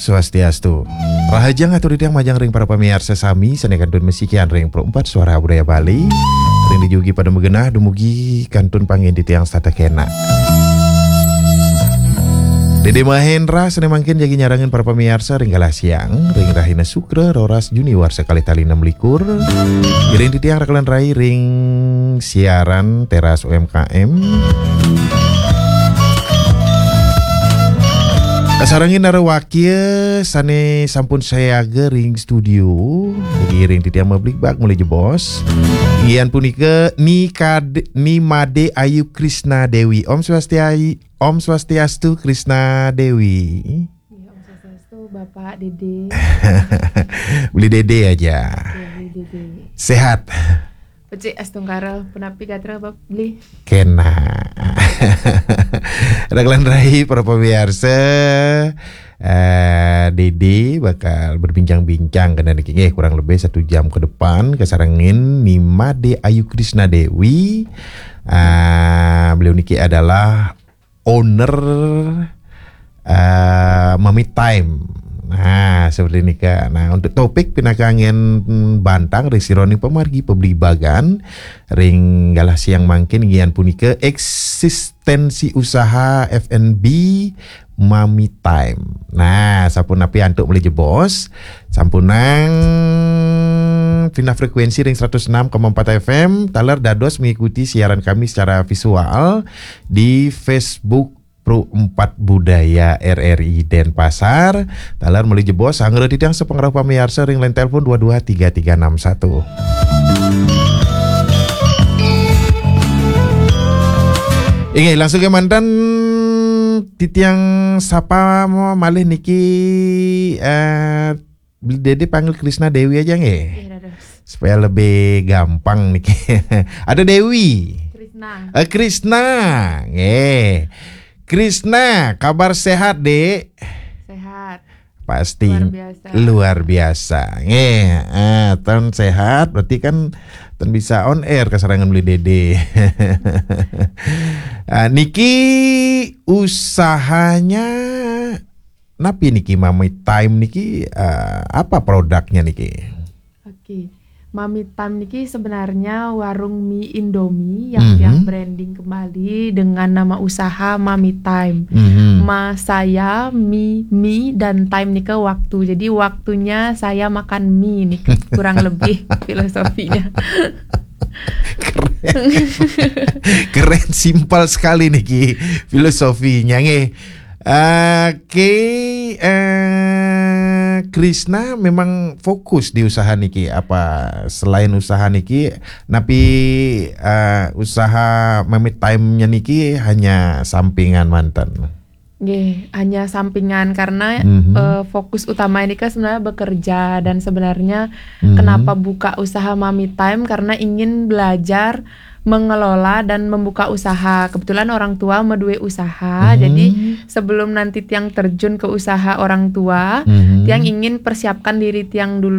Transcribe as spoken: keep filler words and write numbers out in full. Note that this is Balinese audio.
Swastiastu. Rahajeng atur titiang majeng ring para pamiarsa sami sané kantun masikian ring Pro empat Suara Budaya Bali. Ring dijugi pada magenah dumugi kantun pangin titiang setata kénak. Dédé Mahendra sané mangkin jagi nyarengin para pamiarsa ring galah siang, ring rahina Sukra, roras Juni warsa kalih tali enam likur. Ngiring titiang rakelan rai ring siaran Teras U M K M. Kasarengin narawakia sané sampun sayaga ring studio. Ngiring titiang mabligbagan malih jebos. Inggih punika Ni Kad-, Ni Made Ayu Krisna Dewi. Om Swastiayi-, Om Swastiastu Krisna Dewi. Iya, Om Swastiastu, Bapak Dédé. Beli Dédé aja. Iya, Beli Dédé. Sehat. Becik astungkara, punapi gatra, Bab Beli? Kénak. Rakelan rai para pamiarsa, eh, Dédé bakal berbincang-bincang kéné niki nggih, kurang lebih satu jam ke depan, kasarengin Ni Made Ayu Krisna Dewi. Eh, beliau niki adalah owner, eh, Mami Time. Nah, seperti nika. Nah, untuk topik pinaka anggén bantang ring sajeroning pamargi pabligbagan ring galah siang mangkin inggih punika eksistensi usaha F and B Mami Time. Nah, sapunapi antuk malih jebos, sampunang pindah frekuensi ring seratus enam koma empat F M, taler dados mengikuti siaran kami secara visual di Facebook Pro empat Budaya R R I Denpasar. Taler malih jebos, anggra titiang sapangrauh pamiarsa ring line telepon dua dua tiga tiga enam satu. Inggih, langsung kémanten titiang sapa malih niki, eh, Dédé panggil Krisna Dewi aja nggih. Iya, dados. Supaya lebih gampang niki. Ada Dewi. Krisna. Eh, Krisna. Nggih. Krisna, kabar sehat, Dek? Sehat. Pasti luar biasa. Luar biasa. Nggih, eh, ton sehat berarti kan ton bisa on air kasarengin Beli Dédé. Ah, niki usahanya napi niki, Mami Time niki, eh, apa produknya niki? Oke. Mami Time niki sebenarnya warung mie Indomie yang, mhm, yang branding kembali dengan nama usaha Mami Time. Mhm. Ma saya, mi, mi, dan time nika waktu. Jadi waktunya saya makan mie nih, kurang lebih filosofinya. Keren. Keren, simpel sekali niki filosofinya nggih. Oke, eh, Krisna memang fokus di usaha niki. Apa selain usaha niki, napi, eh, usaha Mami Time-nya niki hanya sampingan manten? Nggih, hanya sampingan karena, mhm, eh, fokus utama ini kan sebenarnya bekerja dan sebenarnya, mhm, kenapa buka usaha Mami Time karena ingin belajar mengelola dan membuka usaha. Kebetulan orang tua madué usaha, hmm, jadi sebelum nanti tiang terjun ke usaha orang tua, hmm, tiang ingin persiapkan diri tiang dulu